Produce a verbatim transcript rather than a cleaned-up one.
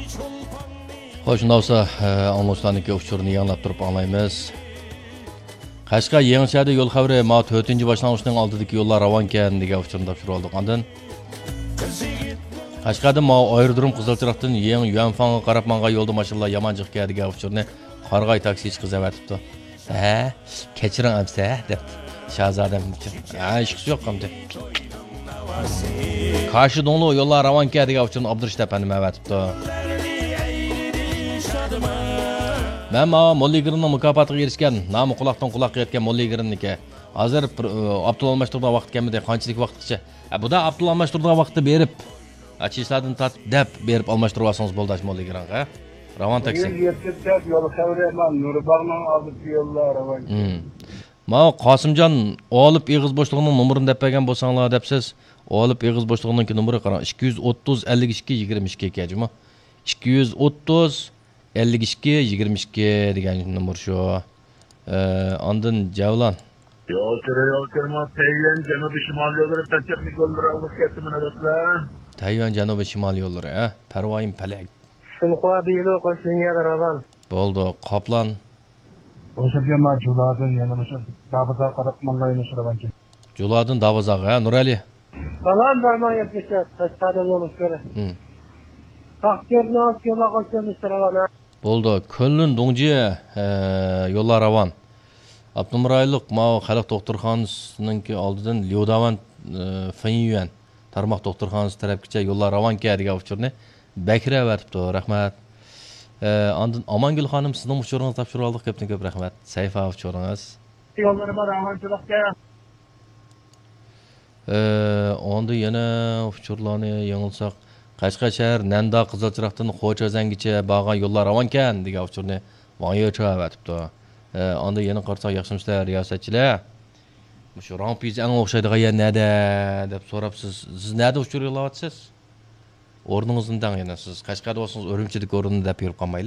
خوش، شۇنداق بولسا، ئە، ئاڭلىغۇچىلارنىڭكى ئۇچۇرىنى يېڭىلاپ تۇرۇپ ئاڭلايمىز. قەشقەر يېڭىچەدە يول خەۋىرى، ماۋۇ تۆتىنچى باشلانغۇچنىڭ ئالدىدىكى يوللار راۋانكەن دېگەن ئۇچۇرنى تاپشۇرۇۋالدۇق. ئاندىن قەشقەردىن ماۋۇ ئايرودروم قىزىل چىراغدىن يېڭى يۈەنفاڭغا قاراپ ماڭغان يولدا ماشىنىلار يامان جىق دېگەن ئۇچۇرنى قارىغاي تاكسىچى قىز ئەۋەتىپتۇ. ھە، كەچۈرۈڭ ئەمسە، دەپتۇ شاھزادەم ئۈچۈن. ھە، ھېچقىسى يوق ئەمدى. كاشىدوڭلۇ يوللار راۋانكەن دېگەن ئۇچۇرنى ئابدۇرېشىت ئەپەندىم ئەۋەتىپتۇ. مەن ماۋۇ موللا ئىگىرىمنىڭ مۇكاپاتىغا ئېرىشكەن، نامى قۇلاقتىن قۇلاققا يەتكەن موللا ئىگىرىمنىڭكى. ھازىر بىر، ئاپتول ئالماشتۇرىدىغان ۋاقىت كەلمىدى. قانچىلىك ۋاقىتقىچە؟ ھە، بۇدا ئاپتول ئالماشتۇرىدىغان ۋاقىتتا بېرىپ، ئاچىشلاردىن تارتىپ دەپ بېرىپ ئالماشتۇرۇۋالسىڭىز بولدى، ئاشۇ موللا ئىگىرىڭغا. راۋان تاكسى. يەتكۈزسەك يول خەۋىرى، مانا نۇرباغنىڭ ئالدىدىكى يوللار راۋان. ماۋۇ قاسىمجان ئالىپ ئېغىز بوشلۇقىنىڭ نومۇرىنى دەپ بەرگەن بولساڭلار دەپسىز. ئالىپ ئېغىز بوشلۇقىنىڭكى نومۇرى قاراڭ، ئىككى يۈز ئوتتۇز، ئەللىك ئىككى، يىگىرمە ئىككى ئىكەن جۇمۇ. ئىككى يۈز ئوتتۇز، ئەللىك ئىككى، يىگىرمە ئىككى دېگەن نومۇر شۇ. ئە، ئاندىن جەۋلان. يول تۈرى، يول تۈرى، تەييۈەن جەنۇبىي شىمال يوللىرى، پەنجەپلىك يوللىرى ئالغۇسى كەتتىمۇ نۆۋەتلەر. تەييۈەن جەنۇبىي شىمال يوللىرى، ھە؟ پەرۋايىم پەلەك. شىنخۇا بىلو قوشۇلۇن يەردە راۋان. بولدى، قاپلان. ئوشۇرجان جۇلادىن يەنە مۇشۇ دابىزا قاراپ ماڭغايمىش راۋانكەن. جۇلادىن دابىزاغا، ھە، نۇرئەلى؟ سالام، بەرمەن يەتمىش تۆت، قەشقەردىن يولۇڭ كۆرە. تاختىيورنىڭ ئالدى يوللار قوشۇلۇن راۋان، ھە. بولدى. كۆنلۈن دۇڭجى، ئە، يوللار راۋان. ئاپتونوم رايونلۇق ماۋۇ خەلق دوختۇرخانىسىنىڭكى ئالدىدىن ليۇداۋان، ئە، فېنيۈەن تارماق دوختۇرخانىسى تەرەپكىچە يوللار راۋانكەن دېگەن ئۇچۇرنى بەكرى ئەۋەتىپتۇ. رەھمەت. ئە، ئاندىن ئامانگۈل خانىم، سىزنىڭ ئۇچۇرىڭىزنى تاپشۇرۇۋالدۇق. كۆپتىن كۆپ رەھمەت. سەھىپە ئۇچۇرىڭىز. يوللىرى بار، ئامانچىلىقتا. ئە، ئاندىن يەنە ئۇچۇرلارنى يېڭىلىساق، قەشقەر شەھەر نەندا قىزىل چىراغدىن خوچازەنگىچە بارغان يوللار راۋانكەن دېگەن ئۇچۇرنى ۋاڭ يېچۇ ئەۋەتىپتۇ. ئە، ئاندىن يەنە قارىساق، ياخشىمۇسىلەر رىياسەتچىلەر؟ مۇشۇ رامپىزەڭ ئوخشايدىغان يەر نەدە دەپ سوراپسىز. سىز نەدە ئۇچۇر يوللاۋاتىسىز؟ ئورنىڭىزنى دەڭ يەنە. سىز قەشقەردە بولسىڭىز، ئۈرۈمچىدىكى ئورۇننى دەپ يۈرۈپ قالمايلى.